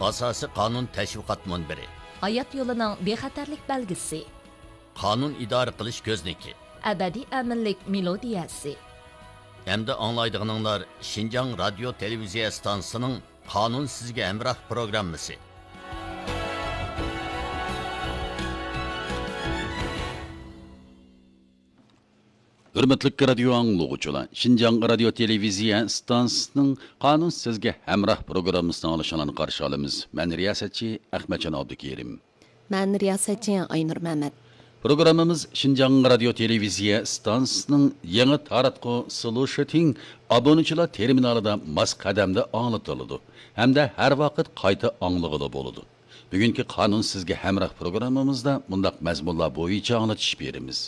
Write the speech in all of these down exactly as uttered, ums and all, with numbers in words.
ئاساسىي قانۇن تەشۋىقات مۇنبىرى. ھايات يولىنىڭ بىخەتەرلىك بەلگىسى. قانۇن ئىدارە قىلىش كۆزنىكى. ئەبەدىي ئەمىنلىك مېلودىيەسى. ئەمدى ئاڭلايدىغىنىڭلار شىنجاڭ رادىيو تېلېۋىزىيە ئىستانسىسىنىڭ قانۇن سىزگە ھەمراھ پروگراممىسى. ھۆرمەتلىك رادىيو ئاڭلىغۇچىلار، شىنجاڭ رادىيو تېلېۋىزىيە ئىستانسىسىنىڭ قانۇن سىزگە ھەمراھ پروگراممىسىنى ئاڭلىشىڭلارنى قارشى ئالىمىز. مەن رىياسەتچى ئەخمەتجان ئابدۇكېرىم. مەن رىياسەتچى ئاينۇر مەمەت. پروگراممىمىز شىنجاڭ رادىيو تېلېۋىزىيە ئىستانسىسىنىڭ يېڭى تاراتقۇ سلۇشىتىڭ ئابۇنىچىلار تېرمىنالىدا ماس قەدەمدە ئاڭلىتىلىدۇ ھەمدە ھەر ۋاقىت قايتا ئاڭلىغىلى بولىدۇ. بۈگۈنكى قانۇن سىزگە ھەمراھ پروگراممىمىزدا مۇنداق مەزمۇنلار بويىچە ئاڭلىتىش بېرىمىز.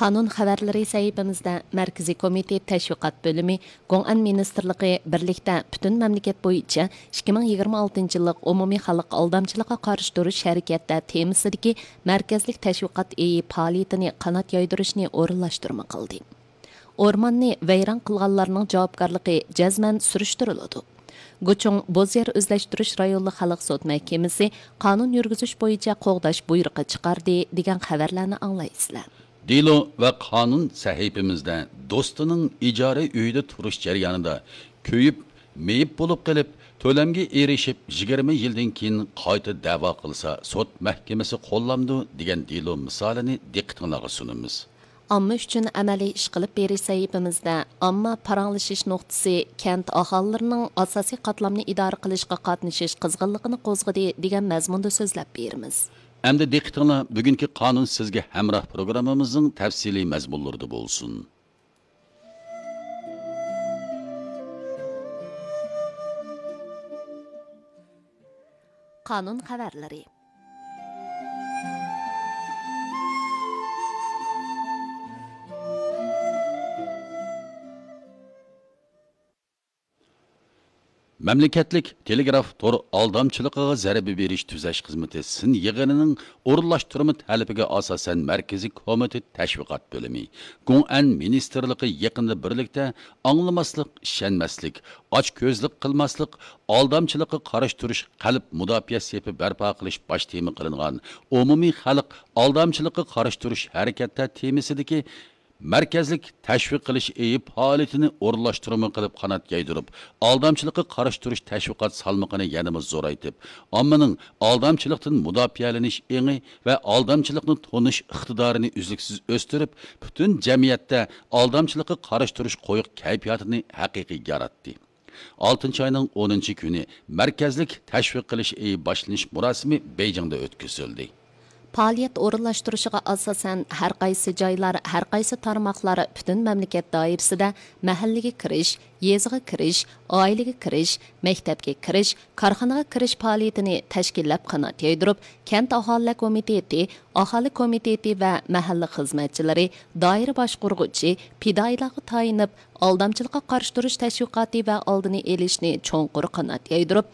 قانۇن خەۋەرلىرى سەھىپىمىزدە مەركىزىي كومىتېت تەشۋىقات بۆلۈمى، گوڭئەن مىنىستىرلىقى بىرلىكتە پۈتۈن مەملىكەت بويىچە ئىككى مىڭ يىگىرمە ئالتىنچى يىللىق ئومۇمىي خەلق ئالدامچىلىققا قارشى تۇرۇش ھەرىكەتتە تېمىسىدىكى مەركەزلىك تەشۋىقات ئېيى پائالىيىتىنى قانات يايدۇرۇشنى ئورۇنلاشتۇرما قىلدى. ئورماننى ۋەيران قىلغانلارنىڭ جاۋابكارلىقى جەزمەن سۈرۈشتۈرۈلىدۇ. گۇچۇڭ بوز يەر ئۆزلەشتۈرۈش رايونلۇق خەلق سوت مەھكىمىسى قانۇن يۈرگۈزۈش بويىچە قوغداش بۇيرۇقى چىقاردى، دېگەن خەۋەرلەرنى ئاڭلايسىلەر. دېلو ۋە قانۇن سەھىپىمىزدە دوستىنىڭ ئىجارە ئۆيىدە تۇرۇش جەريانىدا كۆيۈپ، مېيىپ بولۇپ قېلىپ، تۆلەمگە ئېرىشىپ، يىگىرمە يىلدىن كېيىن قايتا دەۋا قىلسا، سوت مەھكىمىسى قوللامدۇ، دېگەن دېلو مىسالىنى دىققىتىڭلارغا سۇنىمىز. ئامما ئۈچۈن ئەمەلىي ئىش قىلىپ بېرىش سەھىپىمىزدە ئامما پاراڭلىشىش نۇقتىسى كەنت ئاھالىلىرىنىڭ ئاساسىي قاتلامنى ئىدارە قىلىشقا قاتنىشىش قىزغىنلىقىنى قوزغىدى، دېگەن مەزمۇندا سۆزلەپ بېرىمىز. ئەمدى دىققىتىڭلار بۈگۈنكى قانۇن سىزگە ھەمراھ پروگراممىمىزنىڭ تەپسىلىي مەزمۇنلىرىدا بولسۇن. قانۇن خەۋەرلىرى. مەملىكەتلىك تېلېگراف تور ئالدامچىلىقىغا زەربە بېرىش تۈزەش خىزمىتى سىن يىغىنىنىڭ ئورۇنلاشتۇرما تەلىپىگە ئاساسەن، مەركىزىي كومىتېت تەشۋىقات بۆلۈمى، گوڭئەن مىنىستىرلىقى يېقىندا بىرلىكتە ئاڭلىماسلىق، ئىشەنمەسلىك، ئاچكۆزلۈك قىلماسلىق، ئالدامچىلىققا قارشى تۇرۇش قەلب مۇداپىئە سېپى بەرپا قىلىش باش تېما قىلىنغان ئومۇمىي خەلق ئالدامچىلىققا قارشى تۇرۇش ھەرىكەتتە تېمىسىدىكى مەركەزلىك تەشۋىق قىلىش ئېيى پائالىيىتىنى ئورۇنلاشتۇرما قىلىپ قانات يايدۇرۇپ، ئالدامچىلىققا قارشى تۇرۇش تەشۋىقات سالمىقىنى يەنىمۇ زورايتىپ، ئاممىنىڭ ئالدامچىلىقتىن مۇداپىئەلىنىش ئېڭى ۋە ئالدامچىلىقنى تونۇش ئىقتىدارىنى ئۈزلۈكسىز ئۆستۈرۈپ، پۈتۈن جەمئىيەتتە ئالدامچىلىققا قارشى تۇرۇش قويۇق كەيپىياتىنى ھەقىقىي ياراتتى. ئالتىنچى ئاينىڭ ئونىنچى كۈنى مەركەزلىك تەشۋىق قىلىش ئېيى باشلىنىش مۇراسىمى بېيجىڭدا ئۆتكۈزۈلدى. پائالىيەت ئورۇنلاشتۇرۇشىغا ئاساسەن، ھەر قايسى جايلار، ھەر قايسى تارماقلار پۈتۈن مەملىكەت دائىرىسىدە مەھەللىگە كىرىش، يېزىغا كىرىش، ئائىلىگە كىرىش، مەكتەپكە كىرىش، كارخانىغا كىرىش پائالىيىتىنى تەشكىللەپ قانات يايدۇرۇپ، كەنت ئاھالىلەر كومىتېتى، ئاھالە كومىتېتى ۋە مەھەللە خىزمەتچىلىرى، دائىرە باشقۇرغۇچى، پىدائىيلارغا تايىنىپ، ئالدامچىلىققا قارشى تۇرۇش تەشۋىقاتى ۋە ئالدىنى ئېلىشنى چوڭقۇر قانات يايدۇرۇپ،